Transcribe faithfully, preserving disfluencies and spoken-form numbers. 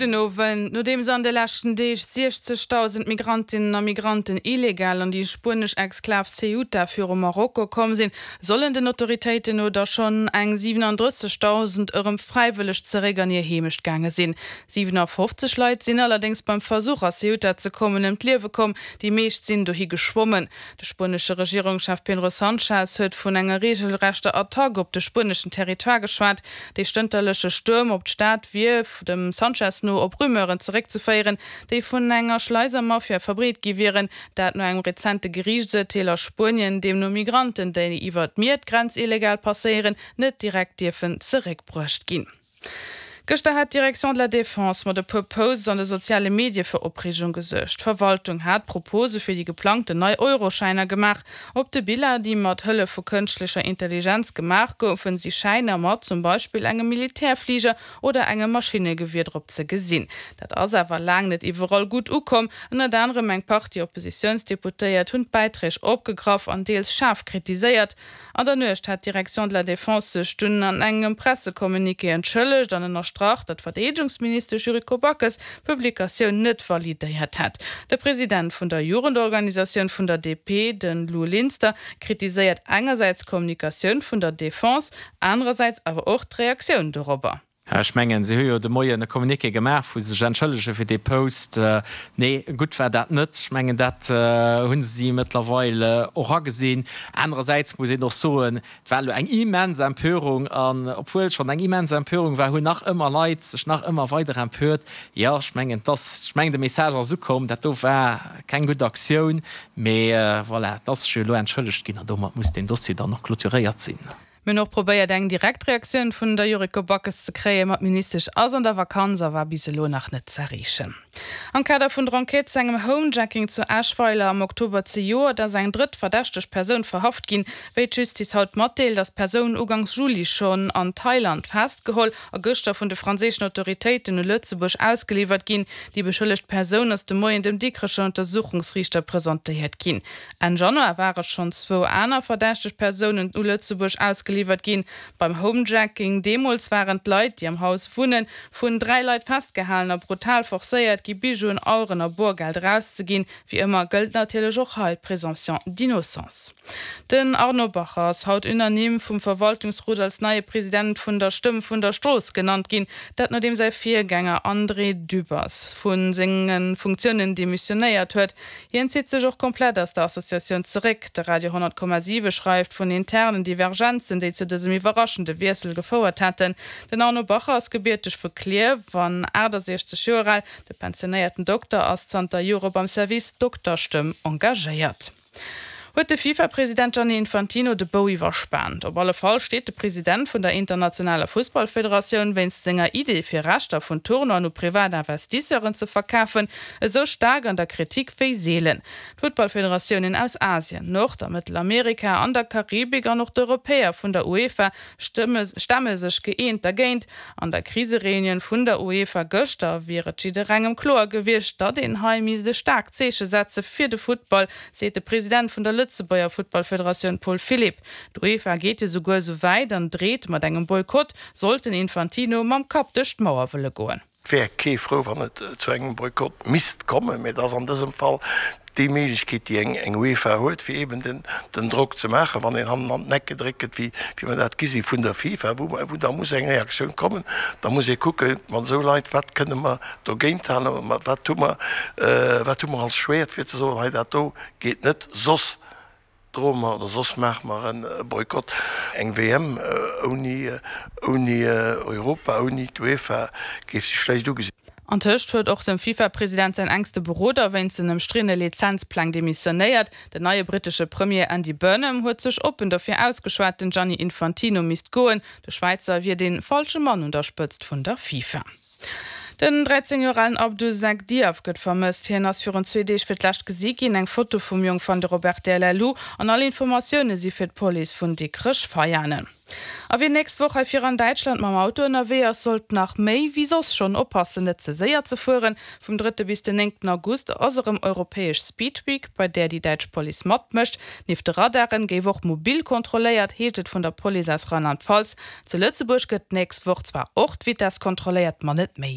Gudden Owend. Nodeems an de leschten Deeg siechzegdausend Migrantinnen a Migranten illegal an déi spuenesch Exklav Ceuta viru Marokko komm sinn, sollen den Autoritéiten no der schonn eng siwenandrëssegdausend erëm fräiwëlleg zeréck an hir Heemecht gaange sinn. siwenafofzeg Leit sinn allerdéngs beim Versuch a Ceuta ze kommen ëm d'Liewe komm, déi meescht sinn dohi geschwommen. De spuenesche Regierungschef Pedro Sanchez huet vun enger reegelrechter Attack op de spueneschen Territoire geschwat. Dee stënterleche Stuerm op d'Stad wier dem Sanchez no op Rumeuren zeréckzeféieren, déi vun enger Schleisermafia verbreet gi wieren, dat no engem rezente Geriichtsurteel a Spuenien, deemno Migranten, déi iwwer d'Mier d'Grenz illegal passéieren, net direkt dierfen zeréckbruecht ginn. Gëschter hat d'Direction de la Défense mat e puer Posts an de soziale Medie fir Opreegung gesuergt. D'Verwaltung hat Propose fir déi geplangten nei Euroschäiner gemaach. Op de Biller, déi mat Hëllef vu kënschtlecher Intelligenz gemaach goufen, si Schäiner mat zum Beispill engem Militärfliger oder engem Maschinnegewier drop ze gesinn. Dat ass awer laang net iwwerall gutt ukomm. Ënnert anerem eng Partie Oppositiounsdeputéiert hunn d'Bäiträg opgegraff an deels schaarf kritiséiert. An der Nuecht hat d'Direction de la Défense sech dunn an engem Pressecommuniqué entschëllegt an ënnerstrach, datt d'Verdeedegungsministesch Yuriko Backes d'Publikatioun net validéiert hätt. De President vun der Jugendorganisatioun vun der D P, de Lou Linster, kritiséiert engersäits d'Kommunikatioun vun der Defense, anerersäits awer och d'Reaktioun dorobber. Ech mengen, si hu jo de Moien e Communiqué gemaach, wou se sech entschëllege fir dee Post. Nee, gutt war dat net. Ech mengen, dat hu si mëttlerweil och agesinn. Anerersäits muss een och soen, et war elo eng immens Empörung an obwuel schonn eng immens Empörung war, hunn nach ëmmer Leit sech nach ëmmer weider empört. Jo, ech mengen, dass, ech mengen, de Message ass ukomm, dat do war keng gutt Aktioun. Mee voilà, et ass sech jo elo entschëllegt ginn an domat muss deen Dossier dann och clôturéiert sinn. Mir hunn och probéiert eng direkt Reaktioun vun der Yuriko Backes ze kréien, ma d'Ministesch ass an der Vakanz a war bis elo nach net z'erreechen. Am Kader vun der Enquête zu engem Homejacking zu Eschweiler am Oktober zejoert ass eng drëtt verdächteg Persoun verhaft ginn. Wéi d'Justiz haut matdeelt, ass d'Persoun ugangs Juli schonn an Thailand festgeholl a gëschter vun de franséischen Autoritéiten u Lëtzebuerg ausgeliwwert ginn. Déi beschëllegt Persoun ass de Moien dem Dikrecher Untersuchungsriichter presentéiert ginn. Enn Januar ware schonn zwou aner verdächteg Persounen u Lëtzebuerg ausgeliwwert ginn. Beim Homejacking deemools waren d'Leit, déi am Haus wunnen, vun dräi Leit festgehalen a brutal forcéiert gi Bijouen, Aueren a Boergeld erauszeginn. Wéi ëmmer gëllt natierlech och hei d'Présomption d'innocence. Den Arnaud Bacher ass haut unanime vum Verwaltungsrot als neie President vun der Stëmm vun der Strooss genannt ginn, dat nodeem säi Virgänger André Dübbers vu senge Funktiounen demissionéiert huet. Hien zitt sech och komplett aus der Associatioun zeréck. De Radio honnert Komma siwe schreift vun internen Divergenzen, déi zu dësem iwwerraschende Wiessel gefouert hätten. Den Arnaud Bacher ass gebierteg vu Klierf an achtasiechzeg Joer al. De pensionéierten Dokter ass zanter Jore beim Service Dokterstëmm engagéiert. Huet de FIFA-President Gianni Infantino de Bou iwwerspaant? Op alle Fall steet de President vun der internationaler Fussballfederatioun wéinst senger Idee fir Rechter vun Tournoien u privat Investisseuren ze verkafen, esou staark an der Kritik wéi seelen. D'Futtballfederatiounen aus Asien, Nord a Mëttelamerika an der Karibik an och d'Europäer vun der UEFA stemme sech gëeent dergéint. An der Krisereunioun vun der UEFA gëschter wier et jidderengem kloer gewiescht, datt een hei misst e staarkt Zeeche setze fir de Futtball, seet de President vun der Lëtzebuerger Futtballfederatioun Paul Philipp. D'UEFA geet jo souguer esou wäit an dreet mat engem Boykott, sollt den Infantino mam Kapp duerch d'Mauer wëlle goen. Et wär kee frou, wann et zu engem Boykott misst kommen, mee et ass an dësem Fall déi Méiglechkeet, déi eng UEFA huet, fir eeben den Drock ze maachen, wann een hannen an den Eck gedréckt gëtt, wéi mer dat gi si vun der FIFA, wou da muss eng Reaktioun kommen. Da muss ee kucke mat esou Leit, wat kënne mer dogéint halen, wat hu mer, wat hu mer als Schwäert, fir ze soen, hei dat do geet net, soss droe mer oder soss maache mer e Boykott. Eng W M ouni ouni Europa, ouni d'UEFA géif sech schlecht ugesinn. Antëscht huet och dem FIFA-President säin enkste Beroder wéinst den ëmstriddene Lizenzpläng demissionéiert. Den neie brittesche Premier Andy Burnham huet sech oppen dofir ausgeschwat, den Gianni Infantino misst goen. De Schwäizer wier dee falsche Mann un der Spëtzt vun der FIFA. Den dräizéng Joer alen Abdou Seck Diaf gëtt vermësst. Hien ass virun zwee Deeg fir d'lescht gesi ginn. Eng Foto vum Jong fannt der op R T L L U an all Informatioune si fir d'Police vun Dikrech-Veianen. A wien nächst Woch hei vir an Däitschland mam Auto ënnerwee ass, sollt nach méi wéi soss schonn oppassen, net ze séier ze fueren. Vum drëtte bis den néngten August ass erëm europäesch Speed Week, bei där déi däitsch Police matmécht. Nieft de Radaren géif och mobil kontrolléiert, heescht et vun der Police aus Rheinland-Pfalz. Zu Lëtzebuerg gëtt d'nächst Woch zwar och d'Vitess kontrolléiert, ma net méi.